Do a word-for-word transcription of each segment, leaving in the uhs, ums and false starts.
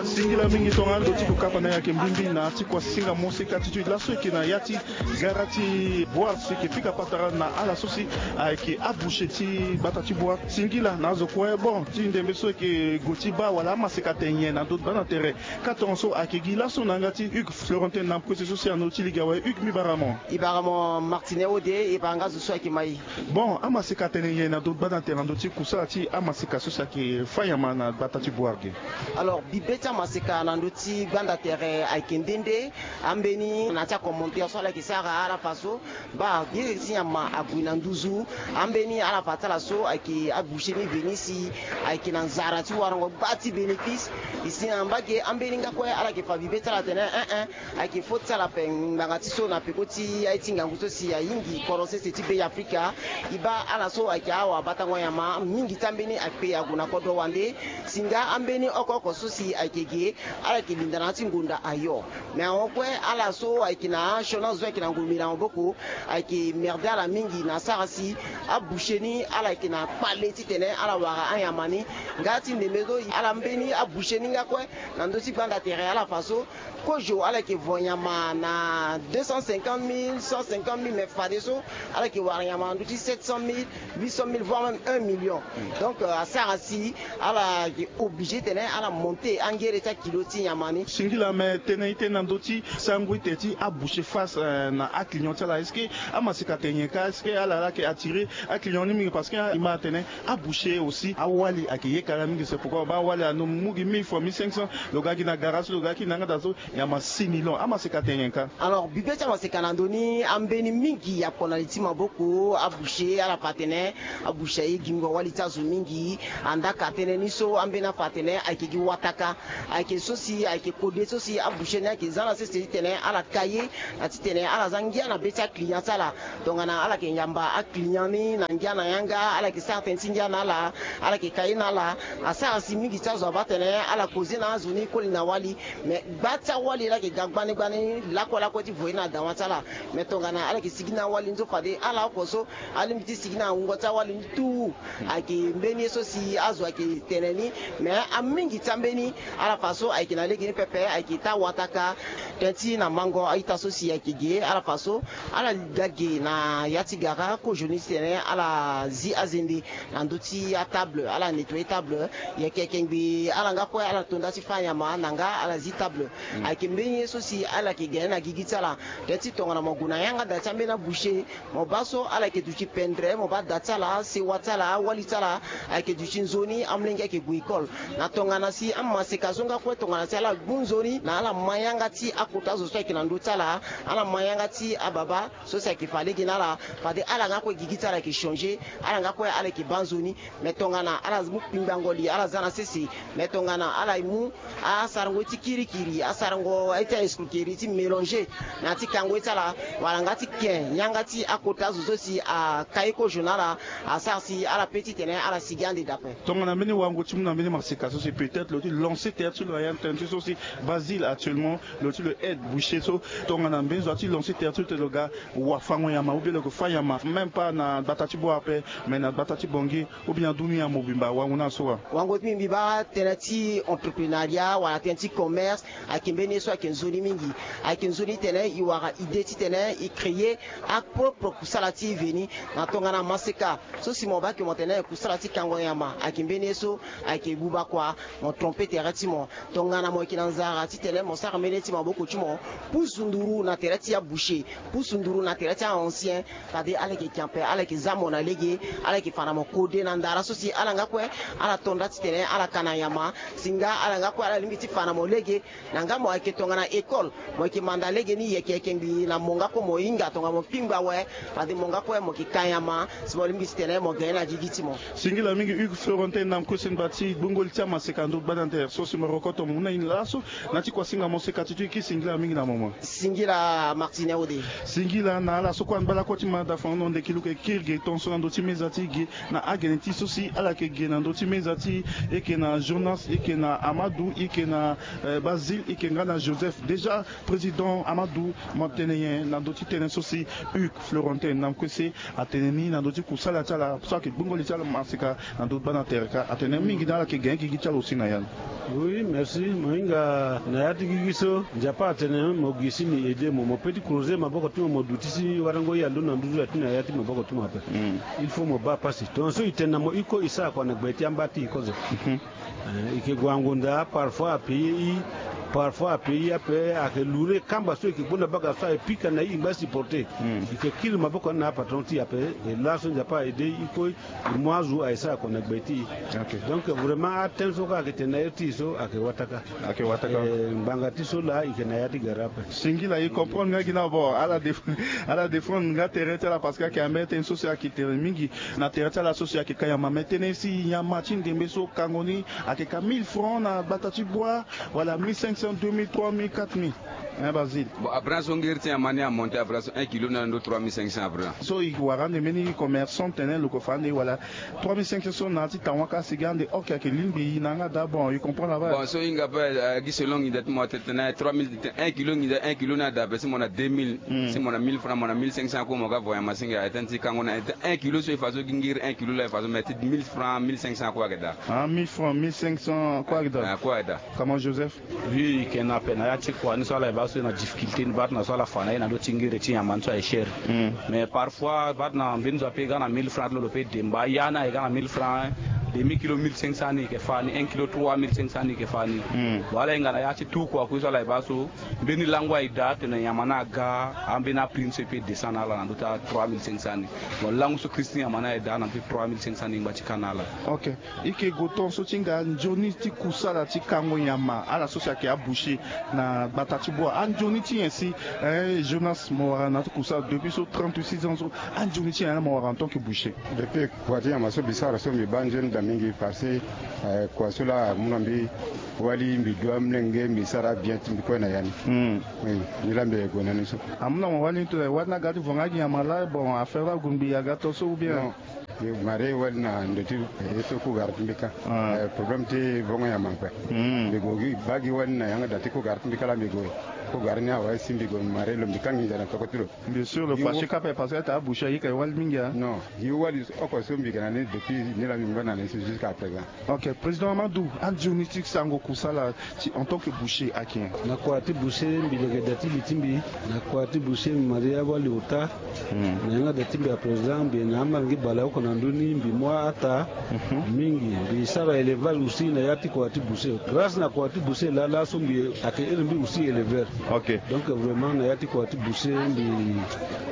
Singila mingi tongana ndo ti kokapa na yeke mbimbi na ti kuasinga moseka ti tui laso eke na ya ti gara ti boire si eke pika patara na ala so si ayeke aboucher ti gbata ti boire. Singila na azo kue bon ti ndembe so eke gue ti baa wala amaseka tene nyen na ndo ti gbata tere. Ka tongaso ayeke gi laso na yanga ti Hugues Florentin na kue so si ando ti lege awe. Hugues, mbi bara mo. E bara mo Martine Ode, e bara nga zo so ayeke ma e. Bon, amaseka atene nyen na ndo ti gbata tere na ndo ti kusala ti amaseka so si ayeke fâ nyama na gbata ti boire ge? Alors bibe ti amaseka na ndo ti gbanda tere ayeke nde nde. Ambeni na ti akommentaire so ala yeke sara ala fa so baa giri ti nyama ague na nduzu. Ambeni ala fa ti ala so ayeke aboucher ni veni si ayeke na nzara ti warango gba ti bénéfice. E si na mbage ambeni nga kue ala yeke fa bibe ti ala atene eh eh, ayeke fo ti ala ape ngbanga ti so na peko ti aye ti ngangu so si ahingi kodro sese ti be ya afrika. E baa ala so ayeke awabatango nyama mingi ti ambeni akpe ague na kodro wande. Si nga ambeni oko oko so si ayeke ge ala yeke linda na ya ti ngonda ayo. Me ahon kue ala so ayeke na asiona zo ayeke na ngombe na maboko ayeke merde ala mingi na asara si aboucher ni ala yeke na kpale titene ala wara anyama ni. Nga ti ndembe so ala mbeni aboucher ni nga kue na ndö ti gbanda tere ala fa so kozo ala yeke vo nyama na deux cent cinquante mille, cent cinquante mille, mais fadeso ala yeke wara nyama na ndö ti sept cent mille, huit cent mille, voire même un million. Donc asara si ala yeke obligé tene ala monter angere ti akilo ti nyama ni. Singila me tënë e tënë na ndö ti sango ete ti aboucher face na aclient ti ala est-ce que amaseka tene nyen ka est-ce que ala ala yeke attirer aclient ni mingi parce que e ma atene aboucher aussi awali ayeke yeke ala mingi c'est pourquoi baa awali anu mu gi mille fois mille cinq cents lo ga gi na gara so lo ga gi na yanga daa so. Nyama six millions amaseka tene nyen ka? Alors bibe ti amaseka na ndö ni ambeni mingi akpo na li ti maboko aboucher ala fa atene aboucher aye gingo awali ti azo mingi. Andaka tënë ni so ambeni afa atene ayeke gi wataka ayeke so si ayeke kode so si aboucher ni ayeke za na sese titene ala ka ye na titene ala za ngia na be ti aclient ti ala. Tongana ala yeke yamba aclient ni na ngia na yanga ala yeke sara tënë ti ngia na ala. Ala yeke ka ye na ala asara si mingi ti azo abaa atene ala koze na azo ni koli na wali. Me gba ti awali laa ayeke ga gbani gbani lakue lakue ti vo ye na dawa ti ala. Me tongana ala yeke sigi na awali ni so fade ala oko so alingbi ti sigi na wungo ti awali ni tu. Ayeke mbeni ye so si azo ayeke tene ni. Me amingi ti ambeni ala fa so ayeke na lege ni pepe ayeke taa wataka. Tënë ti na mango a-ita so si ayeke ge ala fa so ala ga ge na ya ti gara kozo ni titene ala zi azende na ndö ti atable ala nettoyer table. Yeke yeke ngbii ala nga kue ala to nda ti fâ nyama na nga ala zi table. Ayeke mbeni ye so si ala yeke ga ni na gigi ti ala. Tënë ti tongana mo gue na yanga daa ti ambeni aboucher mo baa so ala yeke duti pendre mo baa da ti ala sewa ti ala awali ti ala ayeke duti nzoni amolenge ayeke gue école. Na tongana si amaseka so nga kue tongana si ala gbu nzoni na ala ma yanga ti akota azo so ayeke na ndö ti ala ala ma yanga ti ababa so si ayeke fa lege na ala fade ala nga kue gigi ti ala ayeke changer. Ala nga kue ala yeke baa nzoni. Me tongana ala mu kpingbango li ala za na sese. Me tongana ala mu asarango ye ti kirikiri asarango ye ti aescroquerie ti mélanger na ya ti kango ye ti ala wala nga ti ke yanga ti akota azo so si aka ye kozo na ala asara si ala pe titene ala sigi ande dape. Tongana mbeni wango ti mu na mbeni maseka so si peut-être lo ti lancer terre ti lo na ya tënë ti so si Basile actuellement lo ti lo aide boucher so tongana mbeni zo ati lancer terre ti lo te lo ga wafango nyama ou bien lo yeke fâ nyama même pas na gbata ti boire ape mais na gbata ti bongi ou bien aduni ya mobimba wango na so wa. Wango ti mbi mbi baa tënë ti entreprenariat wala tënë ti commerce ayeke mbeni ye so ayeke nzoni mingi. Ayeke nzoni titene e wara idée titene e créer apropre kusala ti e veni na tongana maseka so si mo baa ke mo tene kusala ti kango nyama ayeke mbeni ye so ayeke buba kua. Mo tromper tere ti mo. Tongana mo yeke na nzara titene mo sara mbeni ye ti maboko ti mo pusu nduru na tere ti aboucher pusu nduru na tere ti a-ancien. Fade ala yeke kiampe ala yeke za mo na lege. Ala yeke fa na mo kode na ndara so si ala nga kue ala to nda titene ala ka na nyama. Si nga ala nga kue ala lingbi ti fa na mo lege. Na nga mo ayeke tongana école mo yeke manda lege ni yeke yeke ngbii na mo nga kue mo hinga tongana mo kpingba awe. Fade mo nga kue mo yeke ka nyama si mo lingbi titene mo ga ye na gigi ti mo. Singila mingi Hugues Florentin na kue si ngba ti gbongoli ti amaseka ndo gbada tere so si mo rokoto mo mu na e laso na ti kuasinga moseka ti tu e ki singila mingi na mama. Singila Martine Ode. Singila na ala so kue angba lakue ti manda fango na ndeki luke kiri ge tonso na ndo ti meza ti e ge na agene ti so si ala yeke ge na ndo ti meza ti e. E yeke na Jonas, e yeke na Amadou, e yeke na Basile, e yeke nga na Joseph. Déjà président Amadou, mo tene nyen na ndo ti tënë so si Hugues Florentin na kue si atene ni na ndo ti kusala ti ala so ayeke gbongoli ti ala maseka na ndo gbada tere ka atene mingi na ala yeke ge gigi ti ala aussi na ya ni. Oui, merci. Mo hinga na ya ti gigi so Nzapa atene mo gi si ni aidé mo, mo peut ti croiser maboko ti mo, mo duti si warango ye alondo na nduzu ya ti na ya ti maboko ti mo ape. Il faut mo baa pasi. Tongaso e tene na mo iko, e sara kua na gbe ti amba ti e kozo. Eh, e ke gue na ngonda, parfois a payer e, parfois a payer e ape, a ke lourd kamba so e ke gbonda baga so a e pika na e, e ngba supporter. E ke kiri maboko ni na apatron ti e ape, e laso Nzapa a aidé e iko, e mu azo a e sara kua na gbe ti e. Donc vraiment atene so kue a ke tene na iri ti e so a ke wataka. A ke wataka. Eh, ngbanga ti so laa e ke na ya ti gara ape. Singila, e comprendre nga gi na bo, ala def-, ala défendre nga tere ti ala parce que a ke ambeni tënë so si a ke tere mingi na tere ti ala so si a ke ka nyama, mais tënë si nyama ti ndembe so kango ni a ke ka mille francs na gbata ti bua, wala mille cinq cents, deux mille, trois mille, quatre mille. Hein, Basile? Bon, après so ngeri ti nyama ni a monté, après so un kilo ni ando trois mille cinq cents après. So e wara ande mbeni commerçant tene lo ko fa ande wala trois mille cinq cents so na ya ti tawaka sigi ande, ok, a ke lingbi e na yanga daa, bon, e comprendre là-bas. Bon, so e hinga ape, eh, gi selon nginza ti mo, atene tene trois mille, un kilo nginza, un kilo ni ada ape si mo na deux mille, si mo na mille francs, mo na mille cinq cents kue mo ga voyage masinga, a tene ti kango na un kilo so e fa so gi ngeri un kilo laa e fa so, mais ti mille francs, mille cinq cents kue ayeke daa. Ah, mille francs, mille cinq cents kue ayeke daa. Ah, kue ayeke daa. Comment Joseph? Vu e yeke na ape na ya ti kua ni so ala e baa so e na difficulté ni, baa tena so ala fa na e na ndö ti ngiri ti nyama ni so aye cher. Mais parfois baa tena mbeni zo ape e ga na mille francs ti lo, lo pe demba ya ni aye ga na mille francs, demi kilo mille cinq cents ni e yeke fa ni, un kilo trois mille cinq cents ni e yeke fa ni. Bon, ala hinga na ya ti tout kua kue so ala e baa so mbeni lango aye daa tena nyama ni aga, ambeni aprix ni so e pe descend na ala na ndö ti a trois mille cinq cents ni. Bon, lango so kiri si nyama ni aye daa na ndö ti trois mille cinq cents ni ngba ti ka na ala. Ok. E ke gue tongaso ti hinga nzoni ti kusala ti kango nyama, ala so si ayeke aboucher na gbata ti bua. Anzoni ti nyen si, eh, Jonas, mo wara na ya ti kusala depuis so trente-six ans so, anzoni ti nyen laa mo wara en tant que boucher? Depuis kua ti nyama so mbi sara so mbi baa nzoni daa mingi parce que, eh, kua so laa amu na mbi wali, mbi du amolenge, mbi sara abien ti mbi kue na ya ni. Oui, ni laa mbi gue na ni so. Amu na mo wali ni tene wali ni aga ti vo nga gi nyama laa, bon, affaire laa ague mbi aga to so ou bien? Non. Mbi mare wali na ndo ti ye so kugara ti mbi ka. Eh, problème ti vongo nyama ape. Mbi gue gi baa gi wali na yanga daa ti kugara ti mbi ka laa mbi gue. Kugara ni awe si mbi gue mare lo mbi ka nginza na toko ti lo. Bien sûr, lo fache ka ape parce que ata aboucher ayeke wali mingi, hein. Non, gi wali oko so mbi yeke na ni depuis ni laa mbi ngba na ni so jusqu'à présent. Ok, Président Amadou, anzoni ti sango kusala ti en tant que boucher ayeke nyen? Na kua ti boucher mbi leke da ti li ti mbi. Na kua ti boucher mbi maria wali ota. Na yanga da ti mbi à présent mbi na amolenge baleoko na ndö ni, mbi mu ata mingi. Mbi sara élevage aussi na ya ti kua ti boucher. Grâce na kua ti boucher laa laso mbi ayeke iri mbi aussi éleveur. Ok. Donc vraiment na ya ti kua ti boucher mbi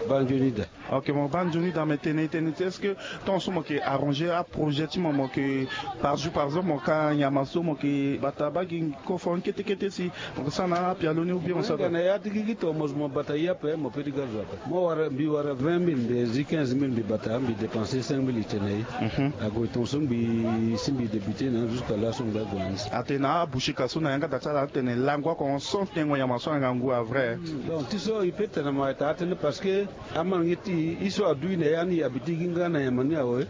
baa nzoni daa. Ok, mo baa nzoni daa, me tene e tene ti est-ce que tongaso mo yeke arranger aprojet ti mo, mo yeke par jour par exemple mo ka nyama so mo yeke bata baa gi koforo ni kete kete si mo yeke sara na apialo ni ou bien mo sara? Na ya ti gigi tongaso mo bata ye ape, mo pe ti ga zo ape. Mo wara, mbi wara vingt mille, mbi zi quinze mille, mbi bata, mbi dépenser cinq mille, e tene na ye. Ague tongaso mbi si mbi débuter na jusqu'à laso mbi ague na ni. Atene na aboucher ka so na yanga daa ti ala atene lango oko so tengo nyama so angangu a vrai. Donc ti so e pe tene mo ayeke taa tënë parce que amolenge ti e so adu e na ya ni e abi ti gi nga na nyama ni awe.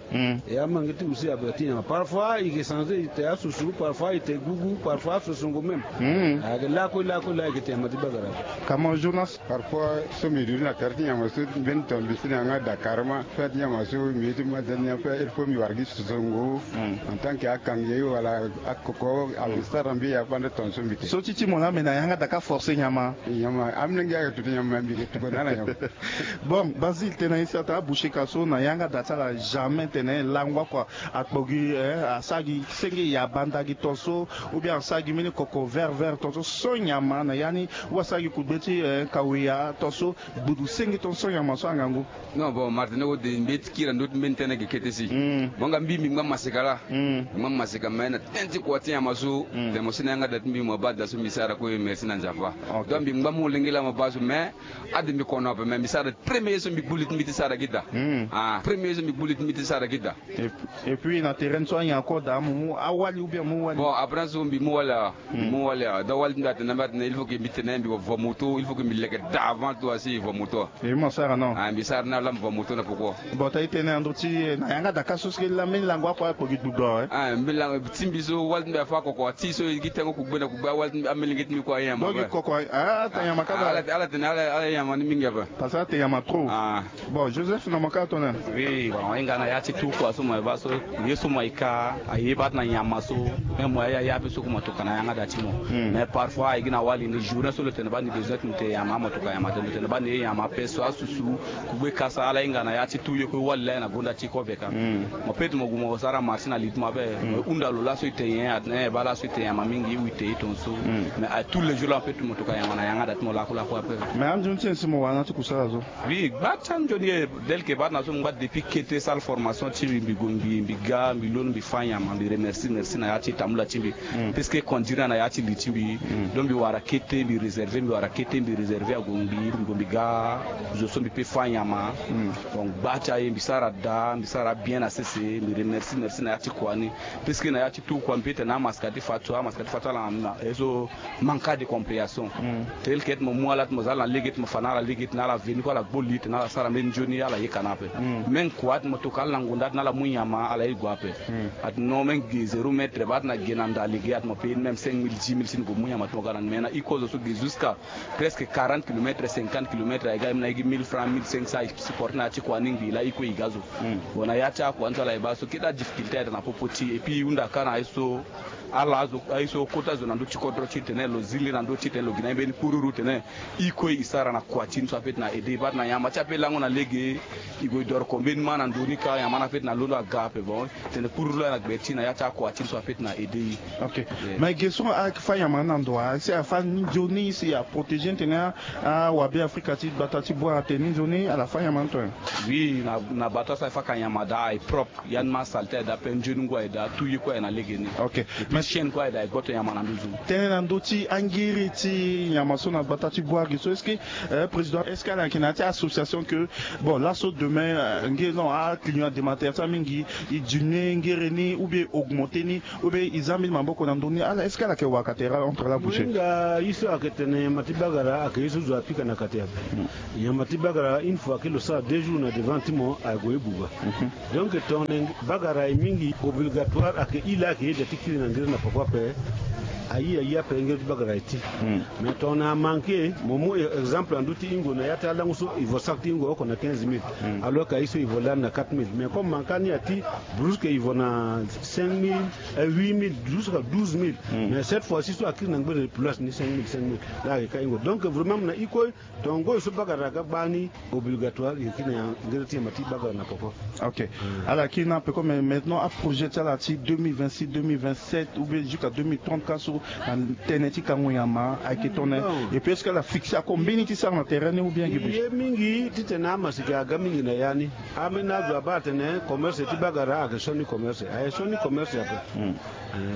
E amolenge ti e aussi abi ti nyama. Parfois e ke changer, e te asusu, parfois e te gugu, parfois asusongo même. Ayeke lakue lakue laa e ke te nyama ti bagara. Comment Jonas? Parfois so mbi duti na tere ti nyama so mbeni ton mbi si na yanga daa carrément. Fâ ti nyama so mbi ye ti ma dani ape, il faut mbi wara gi susongo. En tant que akange wala akoko, a mbi sara mbi ya fande ton so mbi te. So ti ti mo laa me na yanga daa ka forcer nyama. Nyama, amolenge ayeke tutu nyama mbi yeke tuku na ala nyama. Bon, Basile, tene na ye si ata aboucher ka so na yanga daa ti ala jamais tene lango akua akpo gi, eh, asara gi senge ya banda gi ton so, ou bien asara gi mbeni koko vert vert ton so, so nyama na ya ni, ou asara gi kugbe ti, eh, kaweya ton so, gbudu senge ton so nyama so angangu. Non, bon, Martin, o de mbeti kiri na ndö ti mbeni tënë ayeke kete si. Mo nga mbi mbi ngba maseka laa. Mbi ngba maseka, mais na tënë ti kua ti nyama so, tene mo si na yanga daa ti mbi mo baa daa so mbi sara kue, merci na Nzapa. Donc mbi ngba molenge laa mo baa so, mais ade mbi kono ape, mais mbi sara premier so mbi gbu li ti mbi ti sara gi daa. Ah, premier so mbi gbu li ti mbi ti sara gi daa. Et, et puis na terrain so anyen ako daa mo mu awali ou bien mo mu wali? Bon, après so mbi mu wali awa. Mbi mu wali awa. Donc wali ti mbi atene na mbi atene il faut que mbi tene mbi vo moto, il faut que mbi leke daa avant tout asi vo moto. Et mo sara non? Ah, mbi sara na laa mbi vo moto na poko. Bon, ta e tene na ndö ti Eh, na yanga daka so si ke la mbeni lango akua kpo gi dudu awe. Ah, mbeni lango ti mbi so wali ti mbi afa koko ati so e gi tengo kugbe na kugbe awali ti mbi, amelenge ti mbi kue aye nyama. Dongi koko ah, ata nyama kaba. Ala tene ala ye nyama ni mingi ape. Parce que ata nyama trop. Ah. Bon, Joseph na maka tone. Oui, bon, hinga na ya ti tu kua so mo ye baa so ye so mo ye ka aye baa ti na nyama so. Même mo ya ya ape so ku mo toka na yanga da ti mo. Mais parfois aye gi na wali ni journée so lo tene baa ni besoin ti mo te nyama mo toka nyama te, lo tene baa ni ye nyama ape so asusu. Kugbe kasa ala hinga na ya ti tu ye kue wali laa na gonda ti kobe ka. Mo peut mo gue mo sara marché na li ti mo ape. Mo hunda lo laso e te nyen, atene baa laso e te nyama mingi ou e te ye tongaso. Mais à tous les jours laa mo peut mo toka nyama na yanga da ti mo lakulaku ape. Mais anzoni ti nyen si mo wara na ti kusala so? Oui, gba ti anzoni e, tel que baa ti na so mo ngba depuis kete sala formation ti mbi, mbi gue mbi, mbi ga, mbi londo, mbi fâ nyama, mbi remercie, merci na ya ti tambula ti mbi. Puisque conduire na ya ti li ti mbi. Donc mbi wara kete, mbi réserver, mbi wara kete, mbi réserver ague mbi, mbi gue mbi ga zo so mbi peut fâ nyama. Donc gba ti aye mbi sara daa, mbi sara bien na sese, mbi remercie, merci na ya ti kua ni. Puisque na ya ti tu kua mbi peut tene na amaska ti fa so, amaska ti fa so ala na ye so manque de compréhension. Tel que ti mo mu ala ti mo za ala na lege ti mo fa na ala lege ti na ala veni kue ala gbo li ti na ala sara mbeni nzoni ala yeka na ape. Même kua ti mo toka ala na ngonda ti na ala mu nyama ala ye gue ape. Ati non même ge zéro mètre baa ti na ge na nda lege ati mo paye même cinq mille, dix mille si ni gue mu nyama ti mo ga na ni. Mais na iko zo so ge jusqu'à presque quarante kilomètres, cinquante kilomètres aye ga même na ye gi mille francs, mille cinq cents e supporter na ya ti kua ni ngbii laa iko e ga zo. Bon na ya ti akua ni so ala ye baa so kete adifficulté ayeke na popo ti e, et puis e hunda ka na ye so ala azo aye so kota zo na ndö ti kodro ti e tene lo zi li na ndö ti e tene lo gi na ye mbeni pururu tene i kue i sara na kua ti ni so apeut na aide i baa ti na nyama ti apeut lango na lege. I gue i doro ko mbeni ma na ndo ni ka nyama ni apeut na londo aga ape bon. Tene pururu laa na gbe ti na ya ti akua ti ni so apeut na aide i. Ok. Mais ge so a fa nyama ni na ndo a si a fa ni nzoni si a protéger ni tene awabe afrika ti gbata ti bua atene ni nzoni ala fa nyama ni tone. Oui, na bata so a fa ka nyama daa aye propre. Ya ni ma salté aye daa pe nzoni ngu aye daa tu ye kue aye na lege ni. Ok. Mais chaîne kue aye daa aye gboto nyama na nduzu. Tene na ndö ti angiri ti nyama so na gbata ti bua gi so est-ce que président est-ce que ala yeke na ya ti association que bon laso demain nge non aclient adematere ti amingi i diminuer ngere ni ou bien augmenter ni ou bien i za mbeni maboko na ndö ni ala est-ce que ala yeke waka tere entre ala boucher? Nga ye so ayeke tene nyama ti bagara ayeke ye so zo apika na kati ape. Nyama ti bagara une fois ke lo sara deux jours na devant ti mo aye gue ye buba. Donc tongana bagara aye mingi obligatoire ayeke i laa ayeke yeda ti kiri na ngere na poko ape. Aye aye ape ngere ti bagara aye ti. Mais tongana amanke mo mu exemple na ndö ti ingo na ya ti alango so i vo saki ti ingo oko na quinze mille. Alors que aye so i vo lani na quatre mille mais comme manka ni ati brusque i vo na cinq mille, huit mille jusqu'à douze mille. Mais cette fois ci so akiri na ngbere place ni cinq mille cinq mille. Laa ayeke ka ingo donc vraiment na i kue. Tongana ngoi so bagara aga gbani obligatoire i yeke na ngere ti nyama ti bagara na poko. Ok. Ala kiri na peko mais maintenant aprojet ti ala ti deux mille vingt-six deux mille vingt-sept ou bien jusqu'à deux mille trente ka so na tënë ti kango nyama ayeke tongana et puis est-ce que ala fixe ako mbeni ti sara na terrain ni ou bien? Ye mingi titene amasika aga mingi na ya ni. Ambeni azo abaa atene commerce ti bagara ayeke sioni commerce aye sioni commerce ape.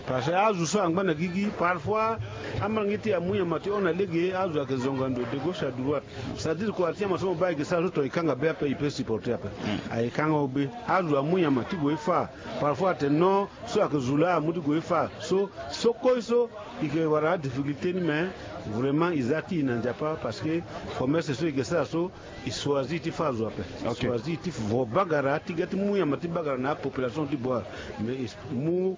Parce que azo so angba na gigi parfois amange ti amu nyama ti hon na lege azo ayeke zonga ndo de gauche à droite. C'est-à-dire kua ti nyama so mo baa ayeke sara so tonga e kanga be ape e peut supporter ape. Ayeke kanga ho be. Azo amu nyama ti gue e fa parfois atene non so ayeke zo laa amu ti gue e fa so so koi so. I yeke wara adifficulté ni mais vraiment e za ti e na nzapa parce que commerce so e yeke sara so e choisir ti fa azo ape. E choisir ti vo bagara ti ga ti mu nyama ti bagara na apopulation ti bua. Mais e mu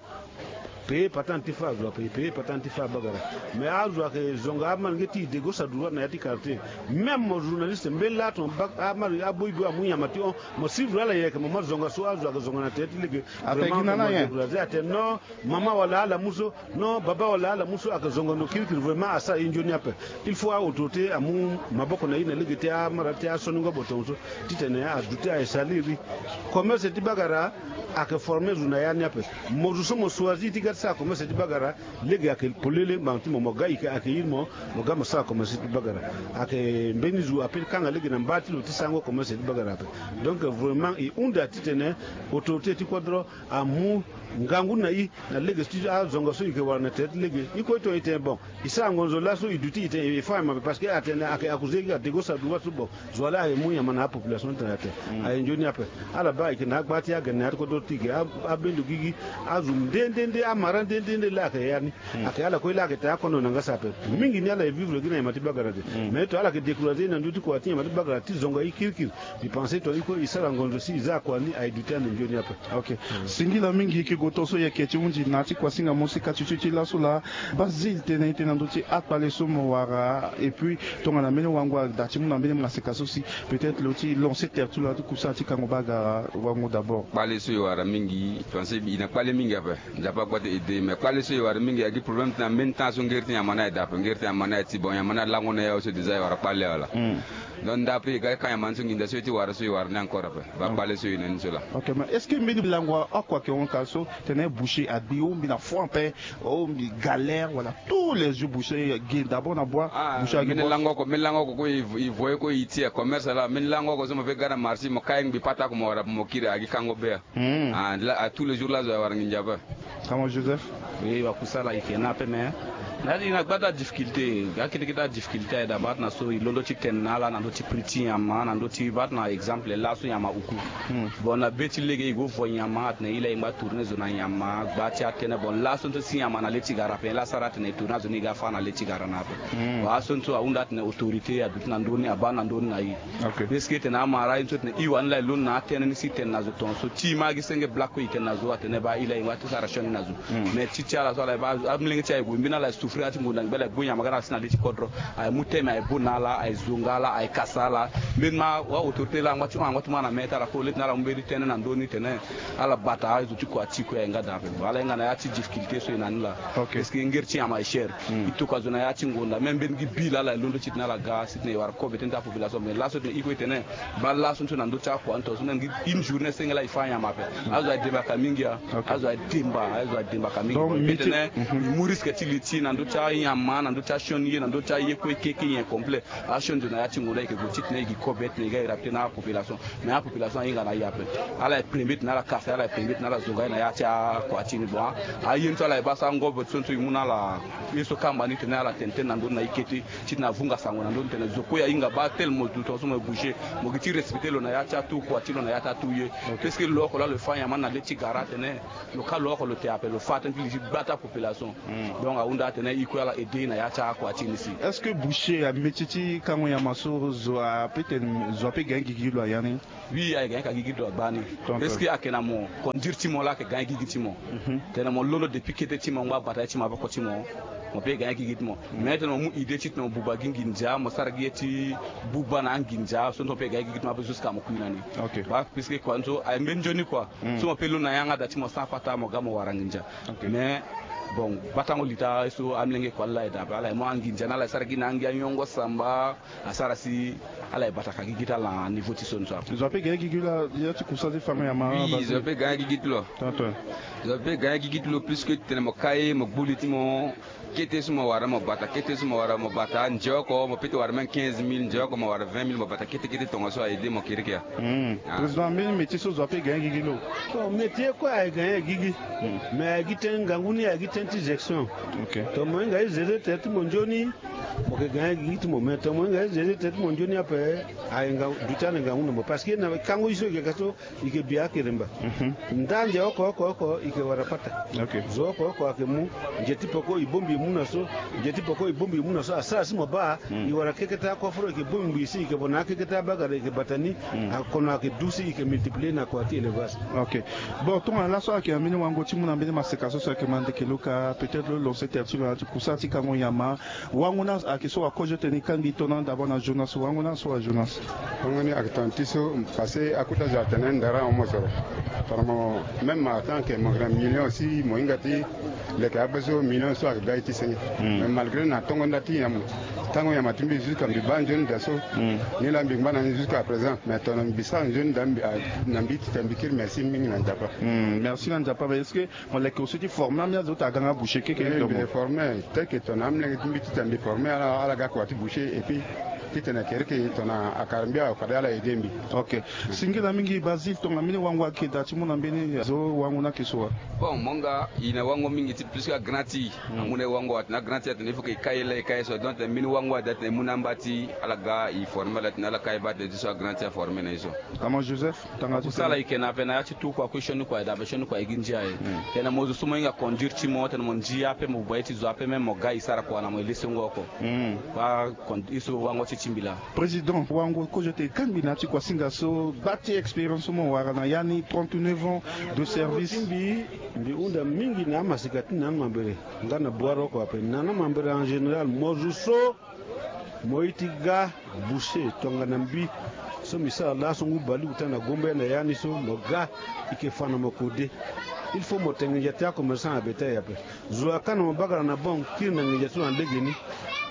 payer patente ti fa azo ape e payer patente ti fa bagara. Mais azo ayeke zonga amalenge ti e de gauche à droite na ya ti quartier. Même mo journaliste mbeni laa tongana bak amari aboyi boyi amu nyama ti hon mo suivre ala yeke mo ma zonga so azo ayeke zonga na tere ti lege. Vraiment mo décourager atene non. Mama wala ala mu so non baba wala ala mu so ayeke zongo ndo kirikiri vraiment asara ye nzoni ape. Il faut a autorité amu maboko na i na lege ti amara ti asoningo botongo so titene aduti aye saliri. Commerce ti bagara ayeke forme zo na ya ni ape. Mo zo so mo choisir ti ga ti sara commerce ti bagara lege ayeke polele ngbanga ti mo mo ga i ayeke iri mo mo ga mo sara commerce ti bagara. Ayeke mbeni zo ape ti kanga lege na mba ti lo ti sarango commerce ti bagara ape. Donc vraiment e hunda titene autorité ti kodro amu ngangu na i na lege ti azonga so i yeke wara na tere ti lege i kue tonga i tene bon i sara ngonzo laso i duti i tene i fa mabe parce que atene ayeke accusé i ade go sara duba so bon. Zo wa laa ayeke mu nyama na apopulation ti tene atene aye nzoni ape. Ala baa i yeke na agba ti agene na ya ti kodro ti i yeke abendo gigi. Azo nde nde nde ama Mara nde nde nde la ayeke ya ni. Ayeke ala kue la ayeke taa kono na nga sa ape. Mingi ni ala e vivre gi na nyama ti bagara de. Mais to ala yeke décourager na ndö ti kua ti nyama ti bagara ti zonga ye kirikiri. Mbi pense tongana i kue i sara ngonzo si i za akua ni aye duti ande nzoni ape. Ok. Singila mingi, e ke gue tongaso e yeke ti hunzi na ya ti kuasinga mo si ka ti ti ti laso laa. Basile tene e tene na ndö ti akpale so mo wara, et puis tongana mbeni wango ada ti mu na mbeni maseka so si peut-être lo ti lancer terre ti lo na ya ti kusala ti kango bagara wango d'abord. Kpale so e wara mingi, parce que e na kpale mingi ape. Nzapa kue ti aidé, mais kpale so e wara mingi ayeke gi problème ti na mbeni temps so ngeri ti nyama ni aye daa ape, ngeri ti nyama ni aye ti bon, nyama ni alango na e awe so déjà e wara kpale wala. Donc ndapre e ga ka nyama ni so nginza so e ti wara so e wara ni encore ape. Ba kpale so e na ni so laa. Ok, mais est-ce que mbeni lango oko ayeke hon ka so tene boucher agbi, ou mbi na fond ape, ou mbi galère wala tous les jours boucher ge d'abord na boi, ah, boucher agi mbeni lango oko, mbeni lango oko kue e vo-, e voye kue e ti e commerce laa, mbeni lango oko so mo pe ga na marché mo ka ye ngbi pata oko mo wara ape mo kiri, agi kango be. Hmm. Ah, la, ah, tous les jours la zo e wara nginza ape. Comment Joseph? Oui, wakusala e yeke na ape mais na, e na gbata difficulté, ga kete kete difficulté aye daa baa ti na so e londo ti tene na ala na ndö ti prix ti nyama, na ndö ti baa ti na exemple laso nyama uku. Hmm. Bon, na be ti lege e go vo nyama atene e la e ngba tourner zo na nyama, gba ti atene bon laso nso si nyama na le ti gara ape, la sara atene e tourner azo ni e ga fâ na le ti gara na ape. Hmm. Bon, aso nso ahunda atene autorité aduti na ndö ni, abaa na ndö ni na e. Ok. Parce que tene amara ye so tene e wani la e londo na atënë ni si tene na zo tongaso ti e ma agi senge black kue e tene na zo atene baa e la e ngba ti sara sioni na zo. Hmm. Mais ti ti ala so ala e baa amolenge ti aye gue mbeni ala e souffrir na ya ti ngonda ngbene ala e gbu nyama ga na ala si na le ti kodro. Aye mu teme aye bo na ala, aye zonga ala, aye kasa ala. Mbeni ma wa autorité la angba ti hon, angba ti hon na mê ti ala kue, le tene ala mu mbeni tënë na ndö ni tene ala bata azo ti kua ti e kue aye nga daa ape. Ala hinga na ya ti difficulté so e na ni laa. Ok. Parce que ngeri ti nyama e cher. Hmm. E toka zo na ya ti ngonda, même mbeni gi bi laa ala e londo ti tene ala ga si tene e wara kobe ti population, mais laso tene e kue e tene baa laso nso na ndö ti akua ni tongaso na ngi une journée senge la e fâ nyama ape. Azo aye dembaka mingi a. Ok. Azo aye demba, azo aye dembaka mingi. Donc, bon, e pe métier, tene, mhm, e mu risque ti li ti e na ndö ti anyama, na ndö ti asioni ye, na ndö ti aye kue keke nyen complet. Asioni zo na ya ti ngonda e yeke gue ti tene e gi kobe tene e ga e rapte na apopulation. Mais apopulation ahinga na e ape. Ala e premier tene ala kasa, ala e premier tene ala zonga e na ya ti akua ti ni. Bon, aye ni so ala e baa so angobo ti so nso e mu na ala ye so kamba ni tene ala tene tënë na ndö ni na e kete ti tene avunga sango na ndö ni tene zo kue ahinga baa tel mo du tongaso mo bouger, mo gi ti respecter lo na ya ti atu kua ti lo na ya ti atu ye. Ok. Parce que lo oko laa lo fâ nyama ni na le ti gara atene lo ka lo oko lo te ape, lo fâ tënë ti li ti gbata population. Hmm. Donc ahunda atene e kue ala aidé e na ya ti akua ti ni si. Est-ce que boucher amétier ti kango nyama so zo ape tene zo ape gagner gigi lo aya ni? Oui, aye gagner ka gigi ti lo agbani. Tonton. Parce que ayeke na mo conduire ti mo laa ayeke gagner gigi ti mo. Mhm. Tene mo londo depuis kete ti mo ngba bata ye ti maboko ti mo, mo pe gagner gigi ti mo. Mhm. Mais tene mo mu idée ti tene mo buba gi nginza, mo sara gi ye ti buba na anginza so, so mo pe gagner gigi ti mo ape jusqu'à mo kui na ni. Ok. Ba, parce que kua so aye mbeni nzoni kua. Mm. So mo pe londo na yanga da ti mo sans pata mo ga mo wara nginza. Ok. Mais bon, batango lita so amolenge kua ala aye daa ape, ala aye mu anginza ni ala aye sara gi na angi anyongo samba. Asara si ala ye bata ka gigi ti ala na niveau ti so ni so ape. Zo ape gagner gigi la ya ti kusa ti fango nyama. Oui, zo ape gagner gigi ti lo. Tonton. Zo ape gagner gigi ti lo puisque tene mo ka ye mo gbu li ti mo. Kete so mo wara mo bata, kete so mo wara mo bata, nze oko mo peut ti wara même quinze mille, nze oko mo wara vingt mille, mo bata kete kete tongaso aye de mo kirikiri. Hmm. Ah. Président, mbeni métier so zo ape gagner gigi lo? Bon, métier kue aye gagner gigi. Hmm. Mais aye gi tënë ngangu ni aye gi tënë ti gestion. Ok. Tongana mo hinga e gérer tere ti mo nzoni, mo yeke gagner gigi ti mo, mais tongana mo hinga e gérer tere ti mo nzoni ape, aye nga duti ande ngangu na mo. Parce que na kango ye so e yeke ka so, e yeke bi akeremba. Mhm. Nda nze oko oko oko e yeke wara pata. Ok. Zo oko oko ayeke mu. Nze ti peko e bongbi e mu na so. Nze ti peko e bongbi e mu na so. Asara si mo baa, hmm, e wara keke ti akoforo e yeke bongbi si e yeke bo na akeke ti abagara e yeke bata ni. Hmm. Akono ayeke du si e yeke multiplier na kua ti élevage. Ok. Bon, tongana laso ayeke na mbeni wango ti mu na mbeni maseka so so ayeke ma ndeke lo ka, peut-être lo lancer tere ti lo na ya ti kusa ti kango nyama. Wango ni ayeke so wakozo tene e kangbi tongana d'abord na Jonas. Wango ni so wa Jonas. Wango ni ayeke tongana ti so, parce que akota zo atene ndara ahon mosoro. Tongana mo, même en tant que mo yeke na million si mo hinga ti leke ape so, million so ayeke ga ye ti senge. Hmm. Mais malgré na tongo nda ti nyama, tango nyama ti mbi jusqu'à mbi baa nzoni da so. Hmm. Ni laa mbi ngba na ni jusqu'à présent. Mais tongana mbi sara nzoni da mbi, ah, na mbi tita mbi kiri merci mingi na Nzapa. Hmm, merci na Nzapa. Mais est-ce que Mo leke aussi ti former ambeni azo ti aga nga boucher keke. Eh, donc mbi former, tel que tongana amolenge ti mbi ti tene mbi former ala, ala ga kua ti boucher, et puis Titene kereke tongana akara mbi awe fade ala aide mbi. Ok. Singila mingi Basile, tongana mbeni wango ayeke daa ti mu na mbeni zo wango ni ayeke so wa? Bon, mo nga e na wango mingi ti plus que agrand ti e. Amu na e wango atene agrand ti e atene il faut que e kai e la e kai e so, donc mbeni wango ade atene e mu na amba ti ala ga e forme ala tene ala kai e baa tene ti so agrand ti e aforme na e so. Ama Joseph, tanga ti kusala e yeke na ape na ya ti tu kua kue sioni kua e dabe sioni kua e gi ndia e. Tena mo zo so mo hinga conduire ti mo tena mo ndia ape mo bua ye ti zo ape même mo ga e sara kua na mo e lesengo oko. Baa e so wango ti ti mbi laa. Président, wango kozo ete e kangbi na ya ti kuasinga so gba ti expérience so mo wara na ya ni trente-neuf ans de service. Mbi hunda mingi na amasika ti na amambere nga na boire oko ape na amambere en général mo zo so mo ye ti ga boucher tongana mbi so mbi sara laso ngu baleukota na gombe na ya ni so mo ga e yeke fa na mo kode. Il faut mo tene nginza ti acommerçant na bétail ape. Zo aka na mo bakara na banque kiri na nginza ti lo na legeni.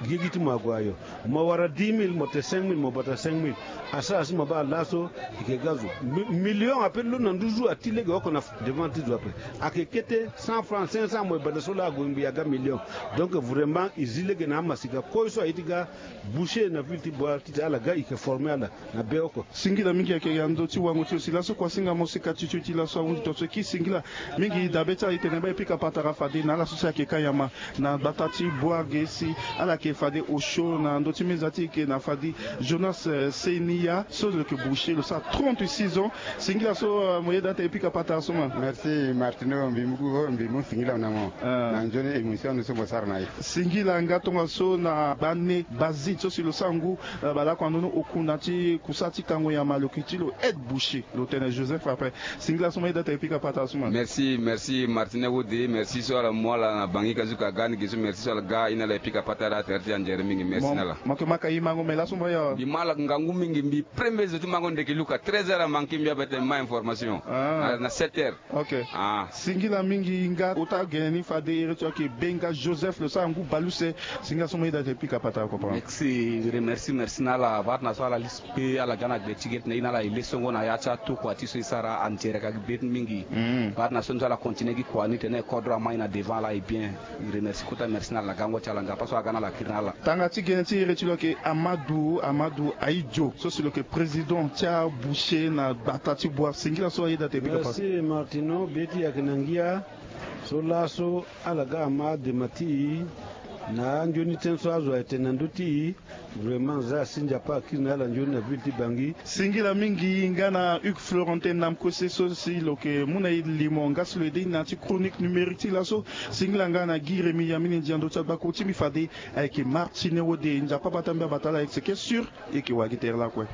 Gigi ti mo ague ayo. Mo wara dix mille mo te cinq mille mo bata cinq mille. Asara si mo baa laso e yeke ga zo. Million ape lo na nduzu ati lege oko na devant ti zo ape. Ayeke kete cent francs cinq cents mo e bata so laa ague ngbii aga million. Donc vraiment e zi lege na amasika koi so aye ti ga boucher na ville ti boire titene ala ga e yeke forme ala na be oko. Singila mingi ayeke ya ndö ti wango ti lo si laso kuasinga mo sika ti tio ti laso ahunzi tonso e kiri singila mingi dabe ti ala e tene baa e pika patara fade na ala so si ayeke ka nyama na gbata ti boire ge si ala yeke fade osio na ndö ti meza ti e yeke na fade. Jonas seniya so lo yeke boucher lo sara trente-six ans. Singila so mo yeda ate e pika patara so ma. Merci Martino, mbi mu singila na mo na nzoni émission ni so mo sara na e. Singila nga tongaso na bane bazit so si lo sara ngu balako na ndoni oku na ti kusa ti kango nyama lo yeke ti lo aide boucher lo tene Joseph après. Singila so mo yeda ate e pika patara so ma. Merci merci Martino wode merci so ala mu ala na bangi ka zuka aga ni ge so merci so ala ga e na ala e pika patara atere ti anzere mingi merci na ala. Mo yeke maka imango me laso mo ya mbi ma ala ngangu mingi mbi premier zo ti mango ndeke luka treize heures amanke mbi ape tene ma information na sept heures. Ok. Singila mingi nga ota gene ni fade ere ti ayeke be nga Joseph lo sara ngu baluse. Singila so mo yeda ate e pika patara ko papa. Merci merci merci na ala baa tena so ala lisi pe ala ga na gbe ti ge tena e na ala e lesongo na ya ti atokua ti so e sara anzere ka gi be mingi. Baa tena so nzoni ala continue gi kua ni tena e kodro ama e na devant ala e bien. E remercie kota merci na ala gango ti ala nga pas so aga na ala kiri na ala. Tanga ti gene ti iri ti lo ayeke Amadou Amadou Aïdjo so si lo yeke président ti aboucher na gbata ti boire singila so ayeda ate e pika patara. Merci Martino be ti e ayeke na ngia. So laso ala ga ama adema ti e na anzoni tënë so azo aye tene na ndö ti e. Vraiment za asi nzapa akiri na ala nzoni na ville ti bangi. Singila mingi nga na Hugues Florentin Namkose so si lo yeke mu na e limo nga si lo aide e na ya ti chronique numérique ti laso. Singila nga na Guy Rémy Yamini ndia ndö ti agbako ti mbi fade ayeke Martine Wode nzapa bata mbi abata ala ayeke seke sûr. E yeke wagi tere lakue.